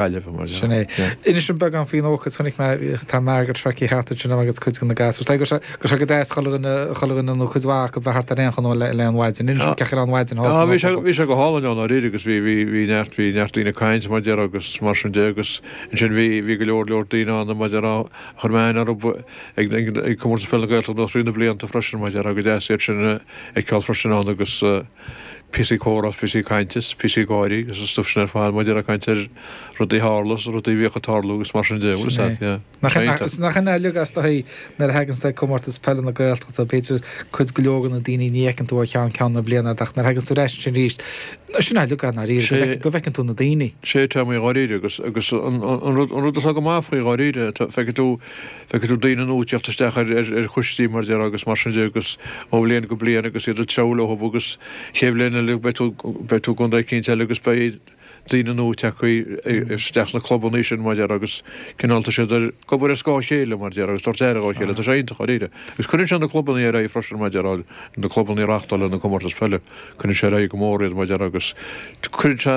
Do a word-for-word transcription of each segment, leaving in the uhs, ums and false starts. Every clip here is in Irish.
Gaillimhe mar Sin é. Inis dom beagán faoin ócáid, chonaic mé, tá Margaret feicthe thart ansin agus cuid de na gasúir. Go raibh sé go deas chuile dhuine, chuile dhuine nó cuid mhaith acu bheith thart ar aon chonradh le le an mhaidin. Inis dom cén chaoi a raibh an mhaidin thall Ah san bhí sé Ollscoil. bhí sé go hálainn ann dáiríre agus bhí bhí bhí neart bhí neart daoine ag caint mar déarfá agus mar sin de agus ansin bhí bhí go leor leor daoine ann mar déarfá a chuir mé aithne orthu ag ag ag Comórtas Peile na Gaeltachta thrí na blianta freisin mar déarfá go deas iad sin a fheiceáil freisin ann agus píosaí comhrá is píosaí cainte is píosaí gáirí agus an stuif sin ar fad mar déarfá ag caint ar rudaí a tharla is rudaí a bhíodh ag tarlú agus mar sin de, bhfuil Sin fhios é. yeah. Nach Iontach. nach in uilig as do thaobh nuair a thagann tú ag Comórtas Peile na Gaeltachta, b'fhéidir cuid go leor de na daoine ní fheiceann tú ó cheann ceann na bliana ach nuair a thagann tú ar ais ansin arís, sin uilig i ndáiríre, go Sé bhfeiceann go bhfeiceann tú na daoine. Sé tá mé dháiríre agus agus an an rud an rud atá go maith faoi dháiríre tá feicfidh tú feicfidh tú daoine nua ag teacht isteach ar ar ar choistí mar déarfá agus mar sin de agus ó bhliain go bliain agus iad ag treabhadh leo agus chéad bhliain eile beidh tú beidh tú i gcontae eicínt eile agus beidh daoine nua tagtha isteach sna clubanna sin mar déarfá agus cineál tá siad ag obair ar scáth a chéile mar déarfá agus tabhairt aire dhá chéile tá sé iontach dáiríre. Agus cuireann sé na clubanna ar aghaidh freisin mar déarfá na clubanna a reáchtálann na comórtais peile cuireann sé ar aghaidh go mór iad mar déarfá agus cuireann sé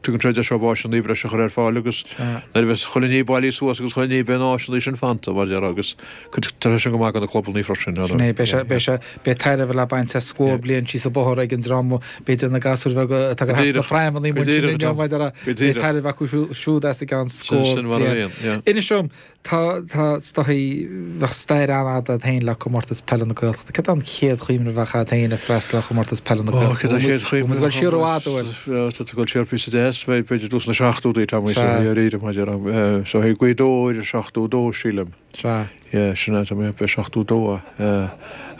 tugann sé deis dóibh áiseanna breise a chur ar fáil agus nuair a bheas chuile ní bailithe suas agus chuile ní beidh na áiseanna sin fanta mar déarfá agus tá sé sin go maith do na clubanna freisin. Sin é, beidh sé beidh sé beidh tairbhe le baint as scór bliain síos an bóthar ag an dream b'fhéidir na gasúir bheaga atá Go ag thart na díreach, praimeanna go muid sin díreach inniu Tom, maidir le go beidh díreach. tairbhe acu siúd as i gceann Sin scór sin mar a bliain. bhíonn, yeah. Inis dom, tá tá is dóigh bheadh stair an-fhada agat féin le Comórtas Peile na Gaeltachta. Cad é an chéad chuimhne a bheadh agat féin ag freastal ar Chomórtas Peile na Ó, Gaeltachta? cad é chéad Bhfuil muid ag dul siar i bhfad, an bhfuil? Tá tú ag dul siar píosa deas, b'fhéidir tús na seachtóidí tá mé Sea. dáiríre mar déarfá. So i Gaoth Dobhair seachtó dó sílim. Sea. Yeah, sin é, tá mé b'é seachtó dó é.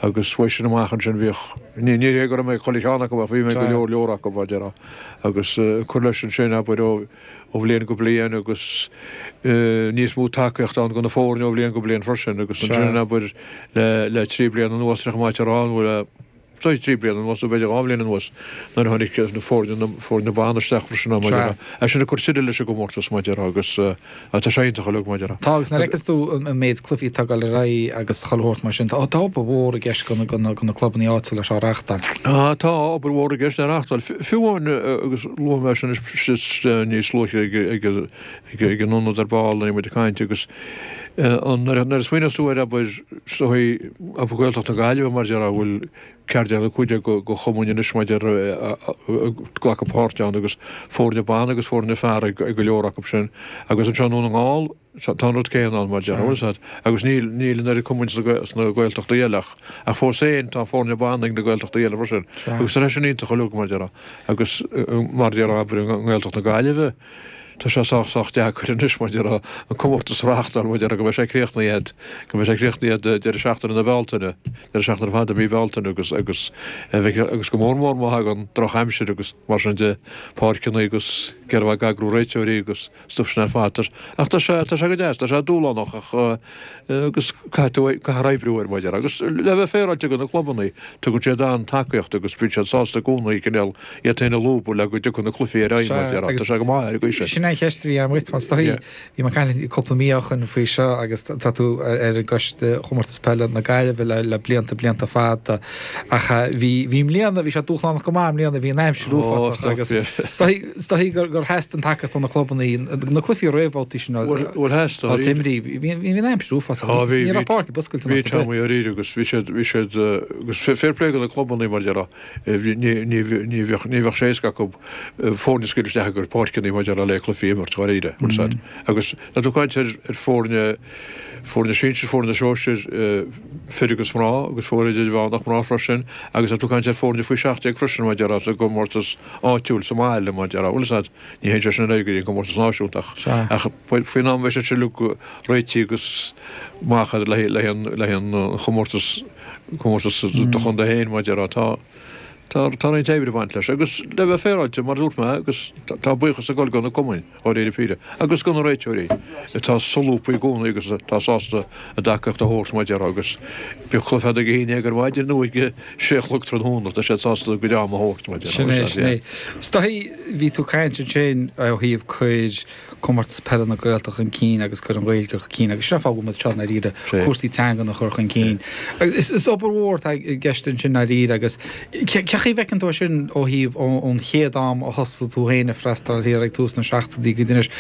Agus uaidh sin amach ansin bhíodh, ní ní hé go raibh mé ag chuile cheann acu ach bhí mé ag go Sea. leor leor acu mar déarfá. Agus cur leis ansin abair ó ó bhliain go bliain agus níos mó tacaíocht ann do na foirne ó bhliain go bliain freisin agus ansin Sea. abair le le trí bliana anuas ar chuma ar an bhfuil Tá trí bliana anuas nó b'fhéidir dhá bhliain anuas nuair a tháinig na foirne na foirne ban isteach freisin mar Sea. déarfá. É sin ag cur tuilleadh leis an gcomórtas mar déarfá agus tá sé iontach uilig mar déarfá. Tá agus nuair a fheiceanns tú an an méid cluichí atá ag dul ar aghaidh agus chuile shórt mar sin, tá tá obair mhór i gceist do na do na do na clubanna áitiúla seo a reáchtáil. Ah, tá obair mhór i gceist le reáchtáil. Fiú amháin agus luaigh mé sin níos luaithe ag ag ag ag an ionad ar ball nuair a bhí muid ag caint agus an nuair a nuair a smaoineos tú ar abair is dóigh abair Gaeltacht na Gaillimhe mar déarfá a bhfuil ceathair déag nó cúig déag de chumainn anois mar déarfá ag glacadh páirte ann agus foirne ban agus foirne fear ag go leor acu sin agus anseo i nDún na nGall tá an rud céanna ann mar déarfá bhfuil fhios agat agus níl níl an oiread cumainn sna Gaeltachtaí eile ach ach fós féin tá foirne ban ag na Gaeltachtaí eile freisin agus tá sé sin iontach uilig mar déarfá agus mar déarfá abair i nGaeltacht na Gaillimhe Tá sé sách sách deacair anois mar déarfá an comórtas a reáchtáil mar déarfá go mbeidh sé críochnaithe go mbeidh sé críochnaithe deireadh seachtaine na Bealtaine, deireadh seachtaine fada mí Bealtaine agus agus agus go mór mór má thagann drochaimsir agus mar sin de, páirceanna agus céard a bheadh ag eagrú réiteoirí agus stuif sin ar fad. Ach tá sé tá sé go deas, tá sé dúshlánach ach agus caithfidh tú caithfear oibriú air mar déarfá agus le bheith féaráilte do na clubanna tugann siad an-tacaíocht agus bíonn siad sásta i gcónaí cineál iad féin a lúbadh le go dtiocfaidh na cluichí ar aghaidh mar déarfá. Sea, Tá sé go maith ar an gcaoi sin. Sin é an cheist a bhí agam dhuit, mar is dóigh, bhí mé ag caint cúpla mí ó shoin faoi seo agus tá tú ar an gcoiste Chomórtas Peile na Gaillimhe le le blianta blianta fada ach bhí bhí i mbliana, bhí sé dúshlánach go maith i mbliana, bhí an aimsir Ó, uafásach stop, agus yeah. is dóigh is dóigh gur gur theastaigh an tacaíocht ó na clubanna, na cluichí réamhbhabhtaí sin Bhuel, bhuel theastaigh, á n-imirt, bhí bhí an aimsir uafásach Á, bhí, ní bhí, raibh páirc ar bith oscailte in bhí áit ar bith. Tommy dáiríre agus bhí siad, bhí siad, agus fair play do na clubanna mar déarfá, ní ní ní bheadh ní bheadh sé éasca acu foirne a scaoileadh isteach i gcuid páirceanna mar déarfá le cluichí a imirt dháiríre, bhfuil fhios agat. Agus tá tú ag caint ar ar foirne foirne sinsir, foirne sóisir, fir agus mná agus foirne idirmheánach mná freisin agus tá tú ag caint ar foirne faoi seacht déag freisin mar déarfá sa gcomórtas áitiúil sa mbaile mar déarfá, bhfuil fhios agat. Ní théann sé sin ar aghaidh go dtí an comórtas náisiúnta ach Sea. ach faoin am a bheidh siad sin uilig réitithe agus amach le le le an chomórtas comórtas do chontae féin mar déarfá tá Tá tá roinnt oibre ag baint leis agus le bheith féaráilte, mar a dúirt mé, agus tá buíochas ag dul do na cumainn, dháiríre píre, agus do na réiteoirí atá solúbtha i gcónaí agus atá sásta a dtacaíocht a thabhairt, mar a déarfá, agus bíodh cluiche ag a haon déag ar maidin nó ag a sé a chlog tráthnóna, tá siad sásta a gcuid ama a thabhairt, mar a déarfá. Sin é, sin é. Is dóigh, bhí tú ag caint ansin ó thaobh cuir Comórtas Peile na Gaeltachta chun cinn agus cuir an Ghaeilge chun cinn agus sin an fáth go bhfuil muid anseo i ndáiríre, cúrsaí teangan a chur chun cinn. Is obair mhór atá i gceist ansin i ndáiríre agus cén chaoi Cén chaoi a bhfeiceann tú é sin ó thaobh ón chéad am a thosaigh tú féin ag freastal thiar ag tús na seachtóidí go dtí anois?